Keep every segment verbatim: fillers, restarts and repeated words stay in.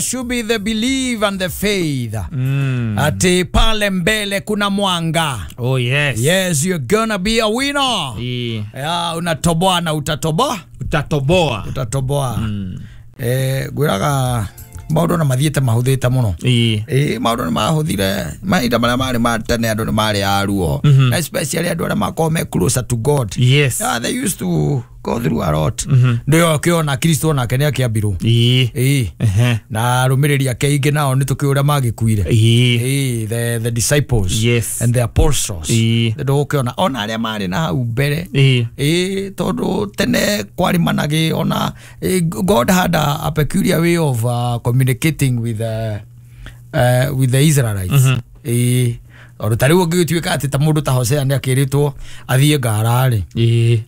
Should be the belief and the faith. Mm. Ati pale mbele kuna mwanga. Oh yes. Yes, you're gonna be a winner. Yeah. Yeah, unatoboa na utatoboa. Utatoboa. Utatoboa. Mm. Eh, gwiraga maundu na mathiete mahuthite muno. Eh, maundu ni mahuthire mahinda maria mari ma tene andu ni mari a ruo. Na especially andu aria makoragwo me closer to God. Yes. Yeah, they used to go through a lot. Ndio akiona Kristo nake ni akiambirwo. Eh. Eh. Na arumiriri ake ingi nao ni tukiuria magikuire. Eh. The the disciples. Yes. And the apostles. Eh. Ndio ukiona ona aria mari na hau mbere. Eh. Eh, tondu tene kwarimanagi ona God had a, a peculiar way of uh, communicating with uh, uh, with the Israelites. Mm -hmm. Eh. Oro tari ũngĩgĩtuĩka atĩ ta mũndũ ta Hosea nĩ akĩrĩtwo athiĩ ngara-rĩ. Ĩĩ.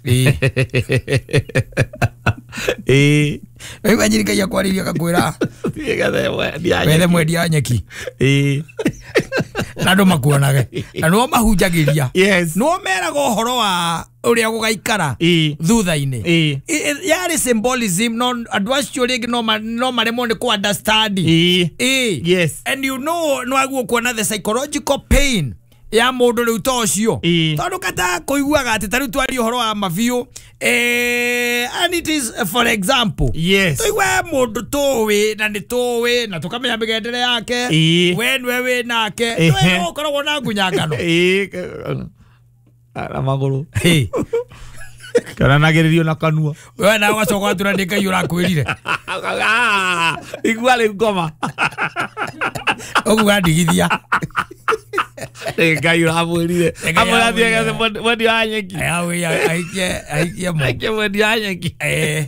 Ĩĩ. Rĩu anyiri Ngai akwarĩria akakwĩra Thiĩ wethe mwendia nyeki. Ĩĩ. Na andũ makuonage. Na nĩo mahunjagĩria. Yes. Nĩo meraga ũhoro wa ũrĩa gũgaikara thutha-inĩ. Ĩĩ. Yarĩ symbolism no andũ acio rĩngĩ no maremwo nĩ kũ understand. Ĩĩ. Ĩĩ. Yes. And you know no aguo kuona the psychological pain ya mũndũ rĩu ta ũcio. Tondũ kata kũiguaga atĩ ta rĩu twaria ũhoro wa mabiũ eh, and it is for example. Yes. Tũigue mũndũ tũĩ na nĩ tũĩ na tũkamenya mĩgendere yake. We nĩwe wĩ nake. Nĩwe ũkoragwo na ngunyangano. Ĩĩ. Na magũrũ. Kana nagĩrĩrio na kanua. We nawe ũgacoka ũgatura nĩ Ngai ũrakwĩrire. Igua rĩu ngoma. Ũguo ndigithia. Ngai ũramwĩrire. Amwĩra athiĩ agethe mwendia wa nyeki. Aikie aikie aikie mwendia wa nyeki. Eh.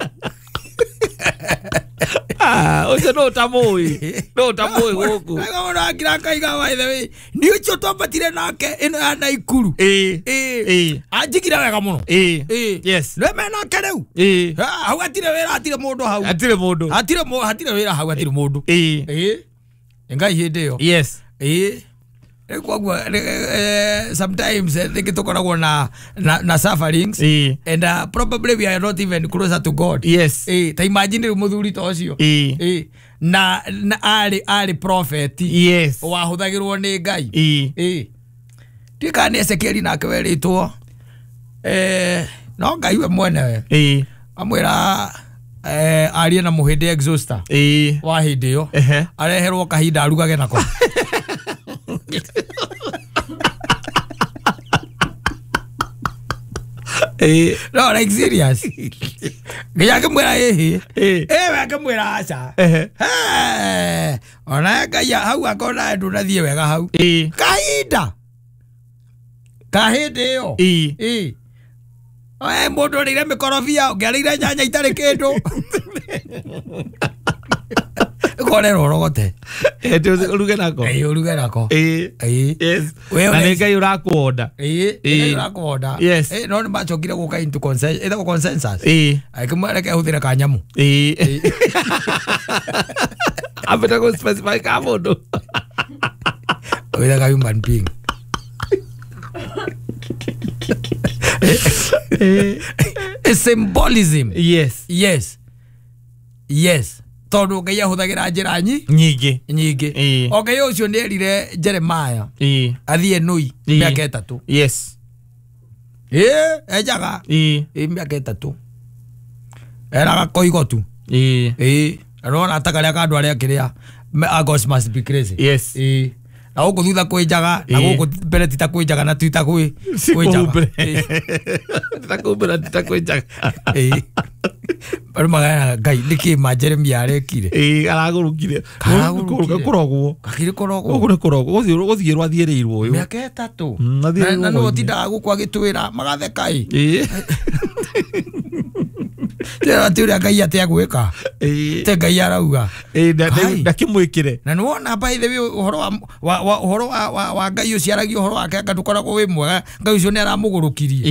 Ah, ũcio no ũtamũĩ. No ũtamũĩ gũkũ. Mũndũ akira akaiga by the way. Nĩ ũcio twambatire nake ĩno ya Naikuru. Ĩĩ. Ĩĩ. Anjigire wega mũno. Ĩĩ. Ĩĩ. Yes. Nĩwe me nake rĩu. Ĩĩ. Hau hatirĩ wĩra hatirĩ mũndũ hau. Hatirĩ mũndũ. Hatirĩ hatirĩ wĩra hau hatirĩ mũndũ. Ĩĩ. Ĩĩ. Ngai hĩndĩ ĩyo. Yes. Ĩĩ. Koguo sometimes rĩngĩ tũkoragwo na na, na sufferings. E. And uh, probably we are not even closer to God. Yes. E, ta imagine rĩu mũthuri ta ũcio. E. E. Na, na arĩ arĩ prophet. Yes. Wahũthagĩrwo nĩ Ngai. E. E. Tuĩka nĩ Ezekieli nake werĩtwo eh, no Ngai we mwenewe. E. Amwĩra eh, arie na mũhĩndĩ exhauster. E. Wa hĩndĩ ĩyo. Areherwo kahinda arugage nako. Eh, no, like serious. Nginya akĩmwĩra ĩhĩ. Eh, we akĩmwĩra aca. Eh. Ona Ngai hau akona ndũnathiĩ wega hau. Eh. Kahinda. Kahĩndĩ ĩyo. Eh. Eh. Oe mũndũ ũrĩire mĩkorobia, ũngĩarĩire nyanya itarĩ kĩndũ. Korero rogote. Eh, uruge nako. Eh, uruge nako. Eh. Eh. Yes. Na nĩ Ngai ũrakuonda. Eh, Ngai ũrakuonda. Yes. Eh, no nĩ macokire gũka into consensus, ĩtagwo consensus. Eh. Akĩmwĩra reke ahũthĩre kanyamu. Eh. Ambeta kũ specify ka mũndũ. Wĩraga human being. Eh. Symbolism. Yes. Yes. Yes. Tondu Ngai ahũthagĩra njĩra nyingĩ nyingĩ. O Ngai ũcio nĩ erire Jeremiah athiĩ Nui mĩaka ĩtatũ. Yes. Ĩĩ, enjaga. Ĩĩ. Ĩĩ mĩaka ĩtatũ. Eraga koigo tu. Ĩĩ. Ĩĩ. Arona ta karĩa ka andũ arĩa kĩrĩa Agos must be crazy. Yes. Ĩĩ. Na gũkũ thutha kwĩnjaga na gũkũ mbere ti ta kwĩnjaga na ti ta kwĩ kwĩnjaga. Ti ta kwĩmbere ti ta kwĩnjaga. Ĩĩ. Andũ magana Ngai nĩkĩ ma Jeremiah arekire. Ĩĩ aragũrũkire. Karagũrũkire. Kũrogwo. Gakĩrĩ kũrogwo. Gũkũ nĩ kũrogwo. Gũthiĩ rwathiĩrĩirwo ũyũ. Mĩaka ĩtatũ. Na nĩwe ũtindaga gũkũ agĩtwĩra magatheka ĩ. Ĩĩ. Tĩra atĩ ũrĩa Ngai atĩ agwĩka. Ĩĩ. Te Ngai arauga. Ĩĩ ndakĩmwĩkĩre. Na nĩwona by the way ũhoro wa wa ũhoro wa wa Ngai ũcio aragia ũhoro wake anga ndũkoragwo wĩ mwega. Ngai ũcio nĩ aramũgũrũkirie.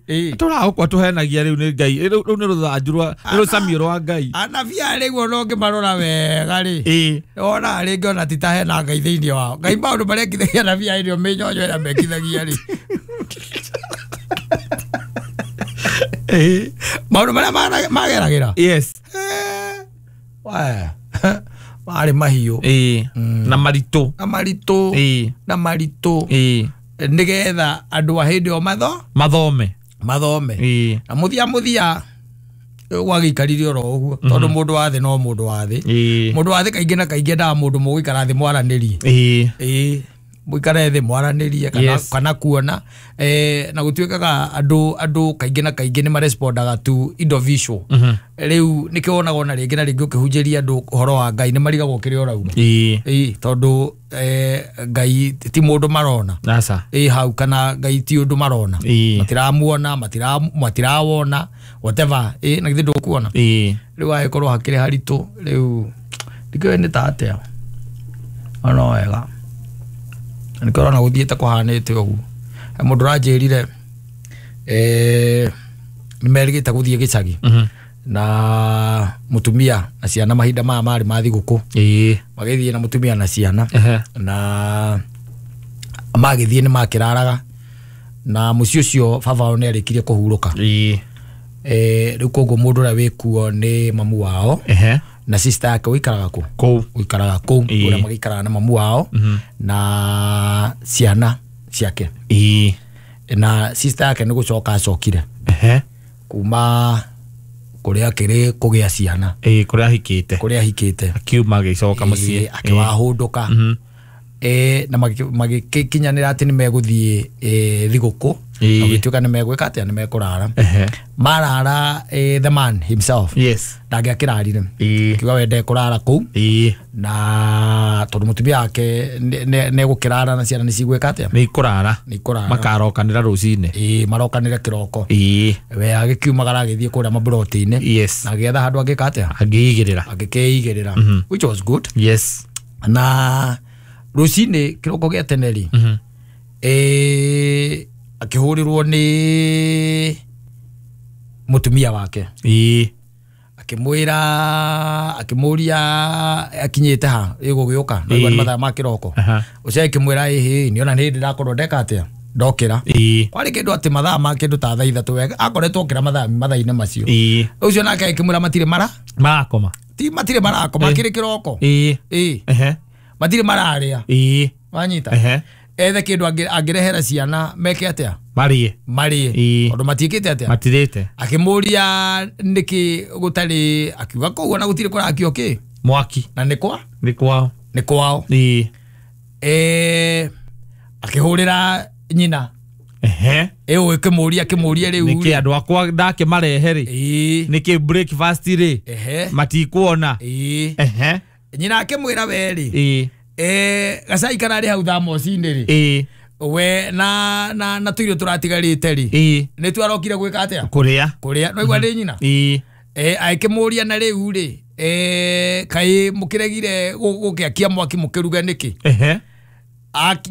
Ĩĩ. Tũragũkwa tũhenagia rĩu nĩ Ngai. Rĩu nĩ rũthanju rwa nĩ rũcamio rwa Ngai. Anabii rĩu ona ũngĩmarora wega rĩ. Ĩĩ. Wona rĩngĩ ona ti ta hena Ngai thĩinĩ wao. Ngai maũndũ marĩa ekithagia anabii ĩrĩa mĩnyonyo ĩrĩa mekithagia rĩ. Eh, maũndũ marĩa mageragĩra. Yes. Eh. Marĩ mahiũ. Ĩĩ. Na maritũ. Na maritũ. Ĩĩ. Na maritũ. Ĩĩ. Nĩgetha andũ a hĩndĩ ĩyo matho Mathome. Mathome. Ĩĩ. Na mũthia mũthia gwagĩikarire oro ũguo tondũ mũndũ wa thĩ no mũndũ wa thĩ. Ĩĩ. Mũndũ wa thĩ kaingĩ na kaingĩ endaga mũndũ mũgũikara thĩ mwaranĩrie. Ĩĩ. Ĩĩ. Mũikare thĩ mwaranĩrie kana Yes. kana kuona eh na gũtuĩkaga andũ andũ kaingĩ na kaingĩ nĩ marespondaga to indo visual. Rĩu nĩkĩo wonaga ona rĩngĩ na rĩngĩ ũkĩhunjĩria andũ ũhoro wa Ngai nĩ marigagwo kĩrĩa ũrauga. Ĩĩ. Ĩĩ tondũ eh Ngai ti mũndũ marona. Aca. Ĩĩ hau kana Ngai ti ũndũ marona. Ĩĩ. Matiramuona, matira matirawona whatever. Ĩĩ na githĩ ndũkuona. Ĩĩ. Rĩu agĩkorwo hakĩrĩ haritũ rĩu ndikĩũĩ nĩ ta atĩa. Ona wega. Nĩkĩo ũrona gũthiĩte kũhanĩte ũguo. Mũndũ ũranjĩrire eh nĩmerĩgĩte gũthiĩ gĩcagi. Mhm. Na mũtumia na ciana mahinda maya marĩ ma thigũkũ. Ĩĩ. Magĩthiĩ na mũtumia na ciana. Ehe. Na magĩthiĩ nĩ makĩraraga na mũciĩ ũcio baba wao nĩarĩkirie kũhurũka. Ĩĩ. Eh rĩu koguo mũndũ ũrĩa wĩkuo nĩ mamu wao. Ehe. Na sister yake ũikaraga kũ? Kũu. Ũikaraga kũu Ĩĩ. ũrĩa magĩikaraga na mamu wao Mhm. na ciana ciake. Ĩĩ. Na sister yake nĩ gũcoka acokire. Ehe. Kuma kũrĩa akĩrĩ kũgĩa ciana. Ĩĩ kũrĩa ahikĩte. Kũrĩa ahikĩte. Akiuma agĩcoka mũciĩ. Ĩĩ, akĩwahũndũka. Mhm. Eh na magĩkinyanĩra atĩ nĩ megũthiĩ eh thigũkũ. Ĩĩ. Na gũtuĩka nĩ megwĩka atĩa nĩ mekũrara. Ehe. Marara eh, the man himself. Yes. Ndangĩakĩrarire. Ĩĩ. Akiuga we ndekũrara kũu. Ĩĩ. Na tondũ mũtumia wake nĩegũkĩrara na ciana nĩcigwĩka atĩa? Nĩ ikũrara. Nĩ ikũrara. Makarokanĩra rũcinĩ. Ĩĩ marokanĩre kĩroko. Ĩĩ. We agĩkiumagara agĩthiĩ kũrĩa maburoti-inĩ. Yes. Na agĩetha handũ angĩka atĩa? Angĩigĩrĩra. Angĩkĩigĩrĩra. Which was good. Yes. Na rũcinĩ kĩroko gĩa tene rĩ. Mhm. Eh akĩhũrĩrwo nĩ mũtumia wake. Ĩĩ. Akĩmwĩra akĩmũria akinyĩte ha ĩgũgĩũka na Ĩĩ. nĩ mathaa ma kĩroko. Aha. Ũcio akĩmwĩra ĩhĩ nĩona nĩ hĩndĩ ndakorwo ndeka atĩa ndokĩra. Ĩĩ. Kwarĩ kĩndũ atĩ mathaa ma kĩndũ ta thaa ithatũ wega akoretwo okĩra mathaa mathaa-inĩ macio. Ĩĩ. Ũcio nake akĩmwĩra matirĩ mara Marakoma. ti matirĩ marakoma kĩrĩ kĩroko. Ĩĩ. Ĩĩ. Ehe. Matirĩ mararĩa. Ĩĩ. Wanyita. Ehe. Ethe kĩndũ angĩrehera ciana meke atĩa? Marĩe. Marĩe. Ĩĩ. Tondũ matiĩkĩte atĩa? Matirĩte. Akĩmũria nĩkĩ gũtarĩ akiuga kũu ona gũtirĩ kũrakio kĩ? Mwaki. Na nĩ kwa? Nĩ kwao. Nĩ kwao. Ĩĩ. Eh akĩhũrĩra nyina. Ehe. Ĩũ ĩkĩmũria akĩmũria rĩu. Nĩkĩ andũ akwa ndakĩmarehe rĩ? Ĩĩ. Nĩkĩ breakfast rĩ? Ehe. Matikuona. Ĩĩ. Ehe. Nyina akĩmwĩra we rĩ. Ĩĩ. Eh gacai kararĩ hau thamoci-inĩ rĩ. Ĩĩ. We na na na tũirio tũratigarĩte rĩ. Ĩĩ. Nĩ twarokire gwĩka atĩa? Kũrĩa. Kũrĩa. No igua nĩ nyina? Ĩĩ. Eh akĩmũria na rĩu rĩ. Eh kaĩ mũkĩregire gũkĩakia mwaki mũkĩruga nĩkĩ? Ehe.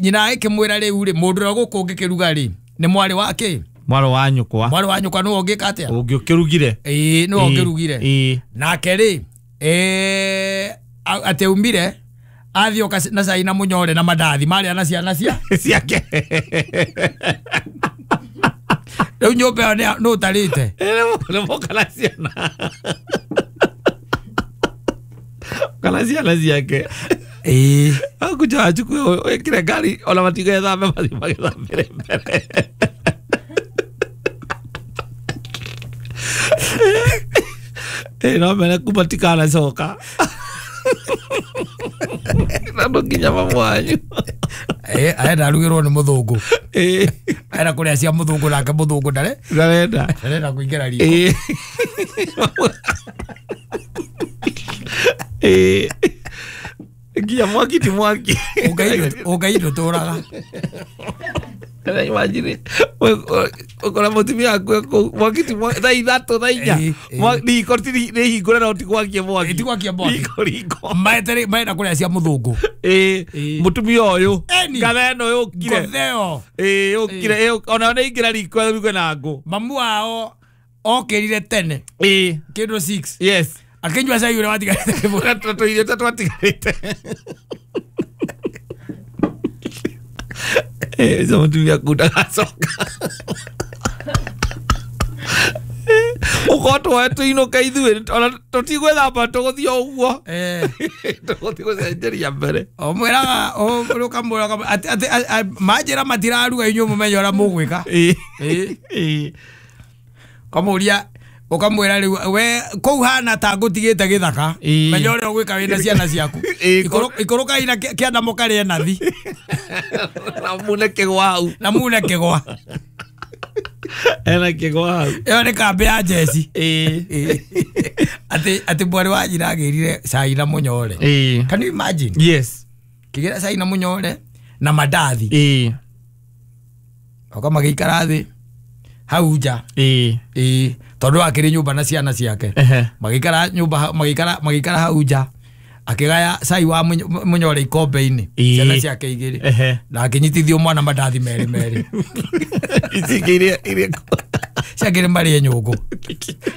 Nyina akĩmwĩra rĩu rĩ mũndũ ũrĩa gũkũ ũngĩkĩruga rĩ nĩ mwarĩ wake? Mwarĩ wa nyũkwa. Mwarĩ wa nyũkwa nĩwe ũngĩka atĩa? Ũngĩũkĩrugire. Ĩĩ nĩwe ũngĩrugire. Ĩĩ. Nake rĩ eh atĩ aumire athiĩ na cai na mũnyore na mandathi marĩa na ciana cia ciake. Rĩu nyũmba ĩyo nĩ ũtarĩte. Nĩ moka na ciana. Kana ciana ciake. Ĩĩ. Akuja achukue wekire ngari ona matigethambe mathiĩ magĩthambĩre mbere. Ĩĩ no mene kuma tikanacoka. Na no nginya mamu wanyu. Eh arenda arugĩrwo nĩ mũthũngũ. Ĩĩ. Arenda kũrĩa cia mũthũngũ nake mũthũngũ ndare. Ndarenda. Ndarenda kũingĩra riko. Ĩĩ. Ĩĩ. Nginya mwaki ti mwaki. Ũngai ndũtũraga. Kana imagine ũkora mũtumia waku kũu mwaki ti mwaki thaa ithatũ thaa inya riko ti nĩ hingũre no ti gwakia mwaki. Ti gwakia mwaki. Riko riko. Maetere maenda kũrĩa cia mũthũngũ. Ĩĩ mũtumia ũyũ ngatha ĩno yũkire. Ngatheo. Ĩĩ yũkire ona nĩ ingĩra riko ruge na ngũ. Mamu wao okĩrire tene. Ĩĩ. Kĩndũ six. Yes. Akĩnyua cai ũrĩa watigarĩte kĩbũra tũirio ta twatigarĩte. Eh, ũcio mũtumia aku ndagacoka. Ũkorwo tũinũke ithuĩ ona tũtigwĩthamba tũgũthiĩ o ũguo. Eh. Tũgũthiĩ gũcenjeria mbere. O mwĩraga ũkamwĩra atĩ atĩ manjĩra matiraruga inyuĩ mũmenye ũrĩa mũgwĩka. Ĩĩ. Ĩĩ. Ĩĩ. Kamũria ũkamwĩra rĩu we kũu hana ta ngũtigĩte gĩthaka. Ĩĩ. Menya ũrĩa ũgwĩka wĩna ciana ciaku. Ĩĩ, Ikũrũkai na kĩanda mũkarĩe nathi. Na mune kĩgwa hau. Na mune kĩgwa. Ena kĩgwa hau. Ĩyo nĩ kambĩ ya njeci. Ĩĩ. Atĩ atĩ mwarĩ wa nyina agĩrire cai na mũnyore. Ĩĩ. Can you imagine? Yes. Kĩgĩra cai na mũnyore na mandathi. Ĩĩ. Oka magĩikara thĩ hau nja. Ĩĩ. Ĩĩ. Tondũ akĩrĩ nyũmba na ciana ciake. Ehe. Magĩikara nyũmba magĩikara magĩikara hau nja. Akĩgaya cai wa mũnyore ikombe-inĩ. Ĩĩ. Ciana ciake igĩrĩ. Ehe. Na akĩnyitithio mwana mandathi merĩ merĩ. Ici iria iria Ciakĩrĩ marĩe nyũngũ.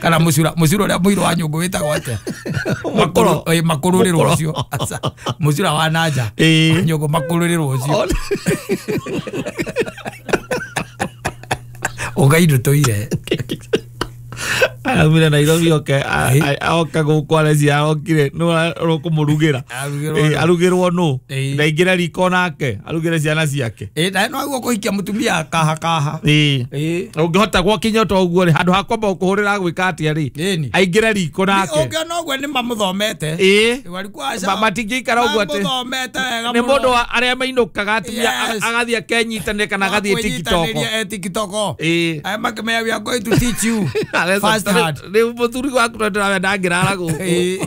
Kana mũcura mũcura ũrĩa mũirũ wa nyũngũ wĩtagwo atĩa? Makũrũ. Ĩĩ makũrũrĩrwo ũcio. Aca. Mũcura wa nanja. Ĩĩ. Nyũngũ makũrũrĩrwo ũcio. Ũgaindũ tũire. Araumire Nairobi oke oka gũkũ arecia okire nũ ũkũmũrugĩra. Arugĩrwo. Arugĩrwo nũ? Ĩĩ. Ndaingĩra riko nake arugĩre ciana ciake. Ĩĩ na no aguo kũhikia mũtumia kaha kaha. Ĩĩ. Ĩĩ. Ũngĩhota gwakinya to ũguo rĩ handũ ha kwamba gũkũhũrĩra gwĩka atĩa rĩ Ĩni. aingĩre riko nake. Ũngĩona ũguo nĩ mamũthomete. Ĩĩ. Walikuwa aca. Ma- matingĩikara ũguo atĩ Mamũthomete wega nĩ mũno. mũndũ wa arĩa mainũkaga atumia Yes. agathiĩ akenyitanĩria kana agathiĩ TikTok. Kwĩnyitanĩria, eh, TikTok. Ĩĩ. Aya makĩmenya we are going to teach you. First hand. Rĩu mũthuri waku no ndĩramenya ndangĩrara gũkũ. Ĩĩ.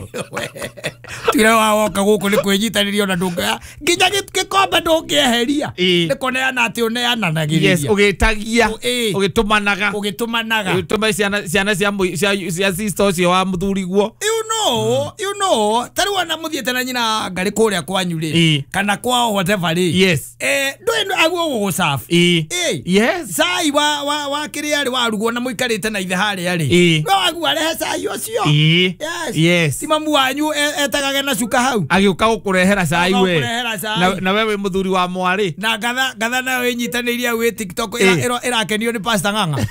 Tuire wa woka gũkũ nĩ kwĩnyitanĩria ona ndũngĩoya nginya gĩkombe ndũngĩeheria. Ĩĩ. Nĩ kũneana atĩ ũneananagĩrĩria. Yes, ũgĩtagia Ĩĩ. ũgĩtũmanaga Ũgĩtũmanaga. ũgĩtũma ciana ciana cia mũi- cia cia sister ũcio wa mũthuri guo. You know, you know, ta rĩu ona mũthiĩte na nyina ngarĩ kũrĩa kwanyu rĩ Ĩĩ. kana kwao whatever rĩ Yes. eh ndũĩ aguo gũgũcabu. Ĩĩ. Ĩĩ. Yes. Cai wa wa wa kĩrĩa rĩ warugwo na mũikarĩte na ithe harĩa rĩ Ĩĩ. no aguo arehe cai ũcio. Ĩĩ. Yes. Yes. Ti mamu wanyu e- etagage na cuka hau. Agĩũka gũkũrehera cai Agĩũka we. gũkũrehera cai. Na na we wĩ mũthuri wa mwarĩ. Na ngatha ngatha nayo ĩnyitanĩirie hau ĩ TikTok Ĩĩ. ĩra- ĩra- ĩrakenio nĩ Pastor Ng'ang'a.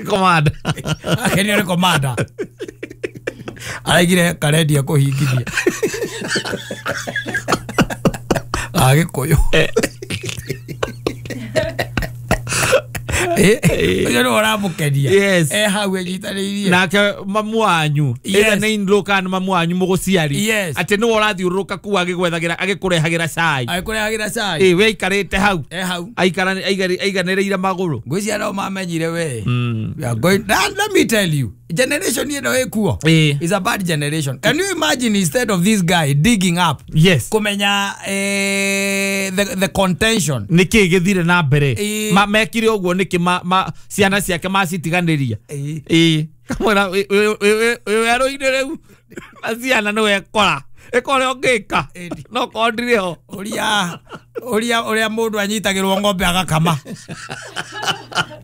Commander. Akenio nĩ commander. Araigire karendia kũhingithia. Agĩkũyũ. Eh, ũcio nĩwe ũramũkenia. Yes. Eh hau ĩnyitanĩirie. Nake mamu wanyu Yes. either nĩ in-law kana mamu wanyu mũgũciari Yes. atĩ nĩwe ũrathiũrũrũka kuu agĩgwethagĩra agĩkũrehagĩra cai. Agĩkũrehagĩra cai. Ĩĩ we aikarĩte hau Eh hau. aikara aiganĩrĩire magũrũ. Ngwĩciria no mamenyire we. Mm. We are going that, let me tell you generation ĩno ĩkuo Ĩĩ. is a bad generation. Can you imagine instead of this guy digging up Yes. kumenya eh, the, the contention nä kä gä thire na mbere Ĩĩ. Ma- mekire å guo nä kä ciana ciake macitiganä Ĩĩ. ria kamwä wä werå-inä rä u na ciana nä wekora ä ka å rä a å ngä ka Ĩni. no korwo ndirä ho ũria ũria ũrĩa mũndũ anyitagĩrwo ng'ombe agakama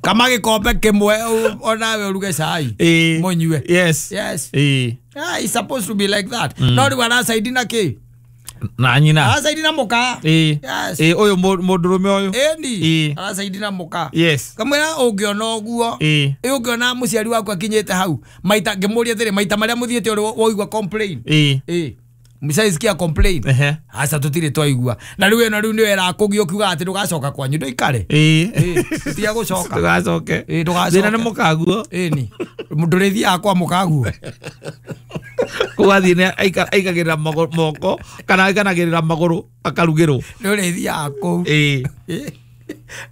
kama gĩkombe kĩmwe ũ- onawe ũruge cai Ĩĩ. mũnyue. Yes. Yes. Ĩĩ. Ah, it's supposed to be like that. No rĩu aracaidi na kĩ na nyina aracaidi na mũka. Ĩĩ. Yes. Ĩĩ, ũyũ mũ- mũndũrũme ũyũ. Ĩni Ĩĩ. aracaidi na mũka. Yes. Kamwĩra ũngĩona ũguo Ĩĩ. ĩ ũngĩona mũciari waku akinyĩte hau maita ngĩmũria atĩrĩ maita marĩa mũthiĩte ũrĩ waigua complain. Ĩĩ. Ĩ mshaisikia complain. Ehe. Aca tũtirĩ twaigua na rĩu ĩno rĩu nĩyo ĩrakũgia ũkiuga atĩ ndũgacoka kwanyu ndũikare. Ĩĩ. Ĩ tiga gũcoka. Ndũgacoke. Ĩ, ndũgacoke. Thĩna nĩ mũkaguo. Ĩni ndũrĩthiaga kwa mũkaguo. Kũgathiĩ nĩ aikagĩrĩra moko kana aikanagĩrĩra magũrũ akarugĩrwo. Ndũrĩthiaga kũu. Ĩĩ.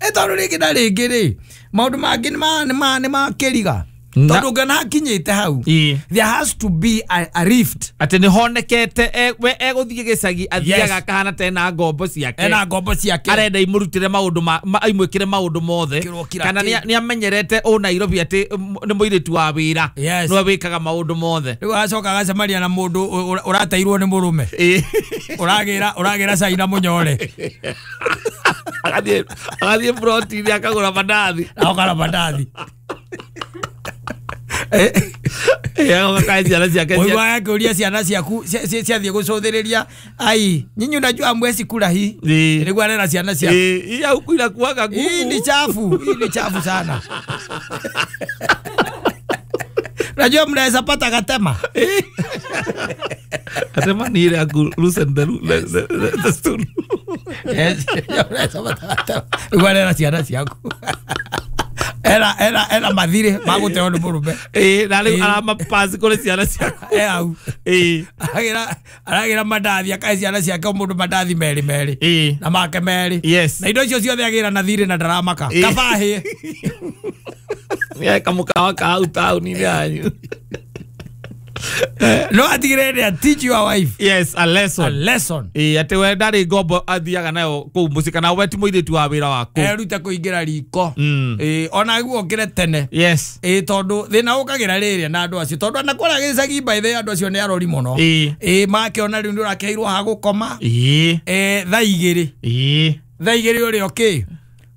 Ĩ tondũ rĩngĩ na rĩngĩ rĩ maũndũ mangĩ nĩ ma nĩ ma kĩriga Na- tondũ ũngĩona hakinyĩte hau Ĩĩ. there has to be a, a rift. Atĩ nĩ honekete e- we egũthiĩ gĩcagi athiaga Yes. akahana ta ena ngombo ciake ena ngombo ciake arenda imũrutĩre maũndũ ma- ma- imwĩkĩre maũndũ mothe Kĩrwo kira kana kĩ. nĩ amenyerete ũ Nairobi atĩ mm, nĩ mũirĩtu wa wĩra Yes. nĩwe wĩkaga maũndũ mothe. Rĩu agacoka agacemania na mũndũ ũ- ũ- ũrateirwo nĩ mũrũme Ĩĩ. ũragĩra ũragĩra cai na mũnyore agathiĩ agathiĩ ploti-inĩ akagũra mandathi. Akagũra mandathi. Eh, Ĩĩ, agoka kae ciana ciake cia- ũiguaga akĩũria ciana ciaku cia- cia- ciathiĩ gũcũthĩrĩria ai nyinyi unajua mwezi kula hii Ĩĩ. nĩguo arera ciana ciaku. Ĩĩ, iya huku inakuwaga Hii ni ngumu. chafu, hii ni chafu sana. Unajua mnaweza pata gatema. Gatema ni ile ya ku loosen the, the, the, the stool. Yes, mnaweza pata gatema. Igual ciana ciaku. Era era era mathire maguteo ni murume. Eh, na riu aramapasi kuri ciana ciaku. Eh au. Eh, aragira aragira mandathi akae ciana ciake o mundu mandathi meri meri. Eh. Na make meri. Yes. Na indo icio ciothe agira na thire na ndaramaka. Kaba hie. Ya kamukawa ka hau tauni yanyu. No atigire ni teach your wife. Yes, a lesson. A lesson. Eh, ati we ndari ngombo athiaga nayo kuu mucii kana we ti muiritu wa wira waku. Erute kuingira riko. Mm. Eh, ona guo okire tene. Yes. Eh, tondu thina ukagira riria na andu acio tondu ana kora gicagi by the andu acio ni arori muno. Eh. Eh, makiona riu ndurakeirwo ha gukoma. Eh. Eh, thaa igiri. Eh. Thaa igiri uri okay.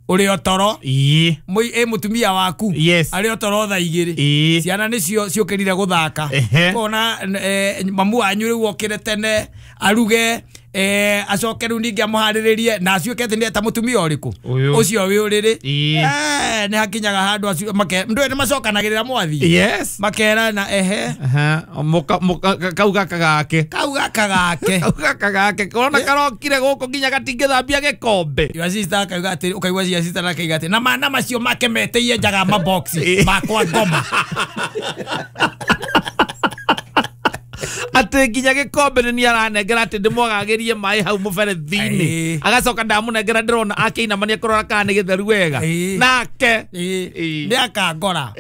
Uri otoro. Ii. Mui e mutumia waku. Yes. Ari otoro thaa igiri. Ii. Ciana nicio ciukirire guthaka. Kona eh, mamu wanyu riu okire tene aruge eh acoke riu ningi amuhariririe na aciuke ati ni eta mutumia uriku ucio wi uriri. Eh, ni hakinyaga handu acio make ndu ni macokanagirira mwathi. Yes. Makera na ehe. Aha. Muka muka kau gaka gake. Kau gaka gake. Kau gaka gake. Kona karokire guku nginya gatingithambia gikombe. Your sister akauga ati ukaigua your sister akauga ati na mana macio make meteie njaga mabox makwa ngoma. Ati nginya gikombe ni aranengera ati ndimwagagirie mai hau muberethi-ini agacoka ndamunengera ndirona akiinamania kurora kana ni githeru wega nake ni akangora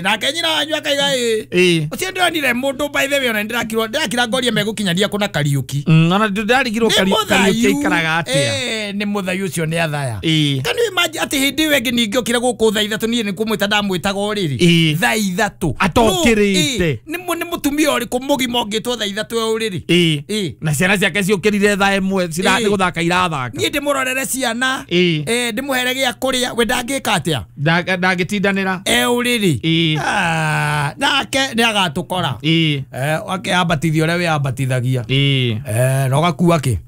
nake nyina wanyu akaiga ĩ ucio ndionire mundu by the way ona ndirakirwo ndirakira ngorie megukinyania kuna Kariuki ona ndirarigirwo Kariuki aikaraga atia eh ni muthayu ucio ni athaya. Can you imagine ati hindi wengi ningiokire guku thaa ithatu nie ni kumwita ndamwitaga uriri thaa ithatu atokirite ni ni mutumia uriku mugima ungitwo thaa ithatu uriri ĩ na ciana ciake ciukirire thaa imwe cirathi guthaka irathaka nie ndimurorere ciana eh ndimuhere gia kuria we ndangika atia ndangĩtindanĩra e uriri ah nake ni agatukora eh ake ambatithio uria we ambatithagia eh no gakua ki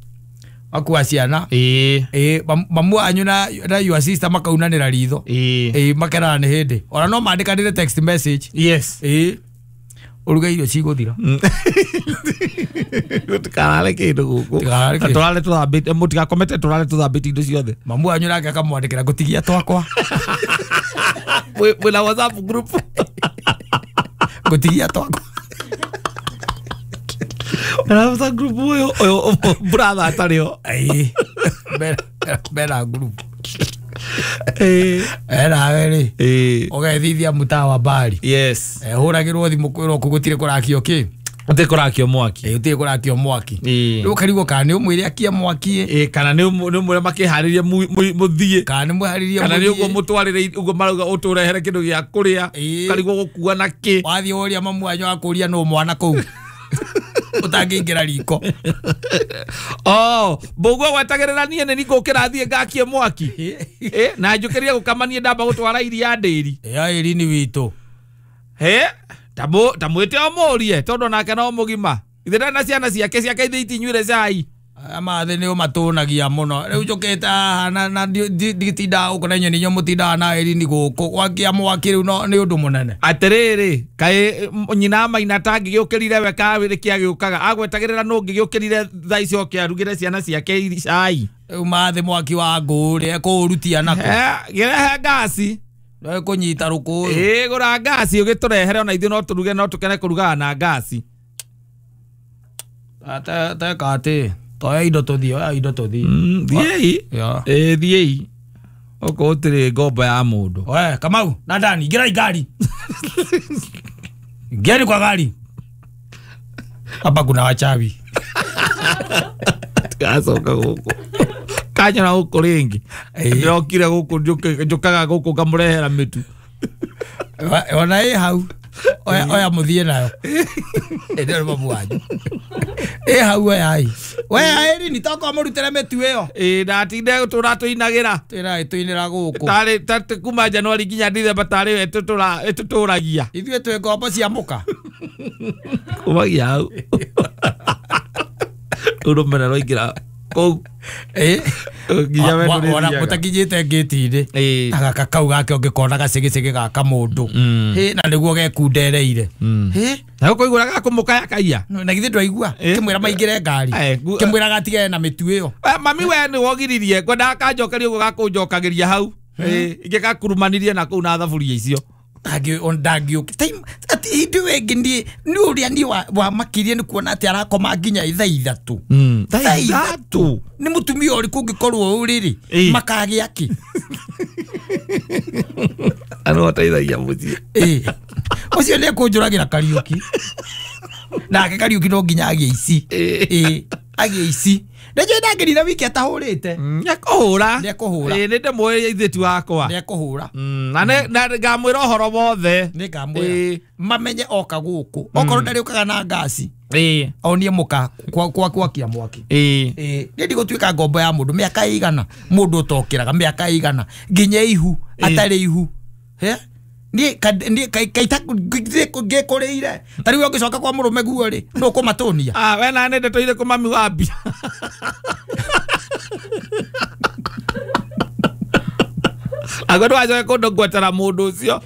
akua ciana eh eh mamu anyu na na your sister makaunanira ritho eh makerana ni hindi ona no mandikanire text message. Yes. Eh uruge irio ciguthira gutikarare kindu guku na turare tuthambite mutigakomete turare tuthambite indo ciothe mamu anyu nake akamwandikira ngutigia twakwa mwina WhatsApp group ngutigia twakwa na WhatsApp group uyu uyu brother atari ho ai bera bera group eh era weri eh ugethithia mutaa wa bari. Yes. Eh huragirwo thimu kwirwo ku gutire kurakio ki gutire kurakio mwaki eh gutire kurakio mwaki eh riu karigwo kana ni umwire akie mwaki eh kana ni umwire makiharirie muthie kana ni mwiharirie kana ni uguo mutwarire uguo marauga uturehere kindu gia kuria karigwo gukua na ki wathie uria mamu wanyu akuria no mwana kuu utangiingira riko. Oh, mbuguo gwetagirira nie ni ngukira thie ngakie mwaki eh na njukirie gukamanie ndamba gutwara iria ndiri ya iri ni witu he tamu tamwite o murie tondu nake no mugima ithe na ciana ciake ciake ithe itinyuire cai amathi ni umatunagia muno riu njukite haha na na nditindaga guku na inyuĩ nĩ inyuĩ mũtindaga na ĩrini guku gwakia mwaki riu no ni undu munene atiriri kai nyina maina tangĩgĩũkĩrire we kawĩrĩ kĩagĩũkaga agwetagĩrĩra nũ ngĩgĩũkĩrire thaa icio oke arugĩre ciana ciake cai riu mathi mwaki wa ngũ rĩ ekũũrutia nako gĩrehe ngasi ekũnyita rũkũyũ ĩ gũra ngasi ũgĩtũrehere ona ithuĩ no tũruge no tũkene kũrugaga na ngasi teka atĩ toya indo tũthiĩ oya indo tũthiĩ thiĩi ĩ thiĩi okorwo ũtirĩ ngombo ya mũndũ we Kamau na Dani ingirai ngari ingieni kwa gari hapa kuna wachawi tigacoka gũkũ kanyona gũkũ rĩngĩ ndĩrokire gũkũ njũkaga gũkũ ngamũrehera mĩtu ona ĩ hau oya oya muthie nayo ĩndĩ mamu wanyu ĩ hau oyai we aĩri ni tokorwo mũrutĩre mĩtu ĩyo ĩ ndatinde tũra tũinagĩra twĩra tũinĩra gũkũ tarĩ tarĩ kuma Januari nginya Dithemba tarĩ we ĩtũtũragia ithuĩ twĩ ngombo cia mũka kumagia hau rũmena rwaingĩra Kũu. Eh. Nginya we ndũrĩthiaga. Ona mũtakinyĩte ngĩti-inĩ. Ĩĩ. Na gaka kau gake ũngĩkona gacĩgĩcĩgĩ gaka mũndũ. Hĩ, na nĩguo gekundereire. Hĩ. Na ũkũigua gakũmũkaya kaiya. Na githĩ ndwaigua kĩmwĩra maingĩre ngari. Kĩmwĩra gatigane na mĩtu ĩyo. Mami we nĩ wogiririe ngwendaga kanjokeria ũguo gakũnjokagĩria hau. Ĩĩ, ingĩgakurumanirie na kũu na thaburia icio. Ndangĩũka ati hĩndĩ ĩyo ĩngĩ niĩ nĩ ũrĩa niĩ wamakirie nĩ kuona atĩ arakoma nginya thaa ithatũ. Thaa ithatũ? Nĩ mũtumia ũrĩkũ ũngĩkorwo ũrĩrĩ makagĩa kĩ? Ano ateithagia mũciĩ. Ĩĩ. Ũcio nĩ ekũnjũragĩra Kariũki. Nake Kariũki no nginya agĩe ici. Ĩĩ, agĩe ici. Nĩnjũĩ ndangĩrira wiki atahũrĩte. Nĩekũhũra. Nĩekũhũra. Ĩĩ, nĩndĩmũĩ ithĩti wakwa. Nĩekũhũra. Na ngamwĩra ũhoro wothe. Nĩngamwĩra. Mamenye oka gũkũ. Okorwo ndarĩũkaga na ngaci. Ĩĩ. Onie mũka kwa gwakia mwaki. Ĩĩ. Ĩĩ. Niĩ ndigũtuĩka ngombo ya mũndũ mĩaka ĩigana mũndũ ũtokĩraga mĩaka ĩigana nginya ihu atarĩ ihu. He? Niĩ niĩ kaita ngĩkũrĩire. Ta rĩu ũngĩcoka kwa mũrũme guo rĩ, nũ ũkũmatũnia? Ah, we na nĩ ndetũire kũ mami wa mbia. Agwo ndwacoke kũndũ ngwetera mũndũ ũcio.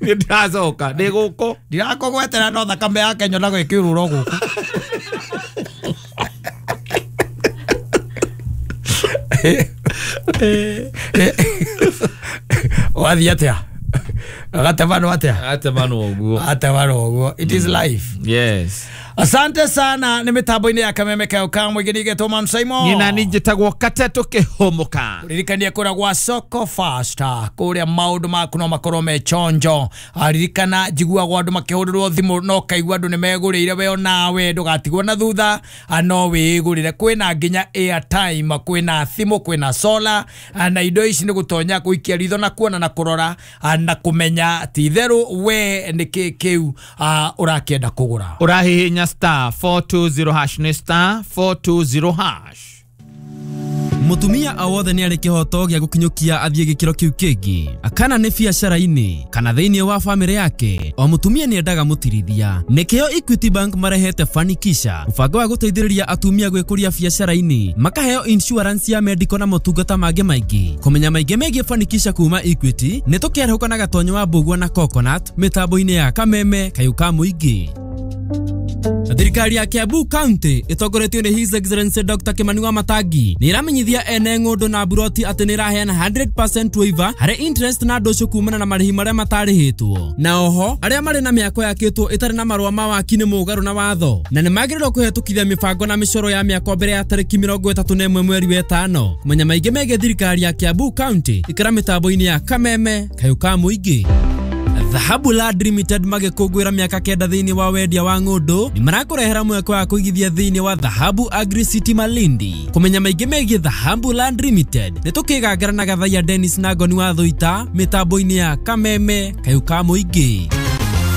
Niĩ ndiracoka, ndĩ gũkũ. Ndirakũgwetera no thakame yake nyonaga ĩkĩũrũra gũkũ. Wathiĩ atĩa? Agatemanwo atĩa? Agatemanwo ũguo. Agatemanwo ũguo. It is life. Yes. Asante sana nĩ mĩtambo-inĩ ya Kameme Kayũ ka Mũingĩ nĩgetwo Man Simon. Niĩ na niĩ njĩtagwo Katetũ Kĩhũmũka. Ririkania kũrĩa gwa Soko Fasta kũrĩa maũndũ maku no makorwo me chonjo. Ririkana njiguagwo andũ makĩhũrĩrwo thimũ no kaigua andũ nĩ megũrĩire we onawe ndũgatigwo na thutha no wĩgũrĩre. Kwĩna nginya airtime, kwĩna thimũ, kwĩna solar na indo ici nĩ gũtonya gũikia ritho na kuona na kũrora na kũmenya ti itherũ we nĩkĩ kĩu ũrakĩenda kũgũra. Ũrahihinya star four two zero hash ni star four two zero hash. Mutumia o wothe nĩ arĩ kĩhoto gĩa gũkinyũkia athiĩ gĩkĩro kĩu kĩngĩ akana nĩ biacara-inĩ kana thĩinĩ wa bamĩrĩ yake. O mũtumia nĩ endaga mũtirithia. Nĩkĩo Equity Bank marehete Fanikisha, mũbango wa gũteithĩrĩria atumia gwĩkũria biacara-inĩ, makaheo insurance ya medical na motungata mangĩ maingĩ. Kũmenya maingĩ megiĩ Fanikisha kuma Equity nĩ tũkĩarahũka na Gatonyo wa Mbũgua na Coconut mĩtambo-inĩ ya Kameme Kayũ ka Mũingĩ. Thirikari ya Kiambu County ĩtongoretio nĩ His Excellency Doctor Kimani wa Matangi nĩ ĩramenyithia ene ng'ũndũ na buroti atĩ nĩ ĩraheana hundred percent waiver harĩ interest na ndũcũ kumana na marĩhi marĩa matarĩhĩtwo. Na oho arĩa marĩ na mĩako yakĩtwo ĩtarĩ na marũa ma waki nĩ mũgarũ na watho na nĩ magĩrĩirwo kũhetũkithia mĩbango na mĩcoro ya mĩako mbere ya tarĩki mĩrongo ĩtatũ na ĩmwe mweri wa ĩtano. Kũmenya maingĩ megiĩ thirikari ya Kiambu County ikĩra mĩtambo-inĩ ya Kameme Kayũ ka Mũingĩ. Dhahabu Land Limited magĩkũngũĩra mĩaka kenda thĩinĩ wa wendia wa ng'ũndũ nĩ marakũrehera mweke wa kũigithia thĩinĩ wa Dhahabu Agri City Malindi. Kũmenya maingĩ megiĩ Dhahabu Land Limited nĩ tũkĩgangara na Gathaiya Dennis na Ngoni wa Thũita mĩtambo-inĩ ya Kameme Kayũ ka Mũingĩ.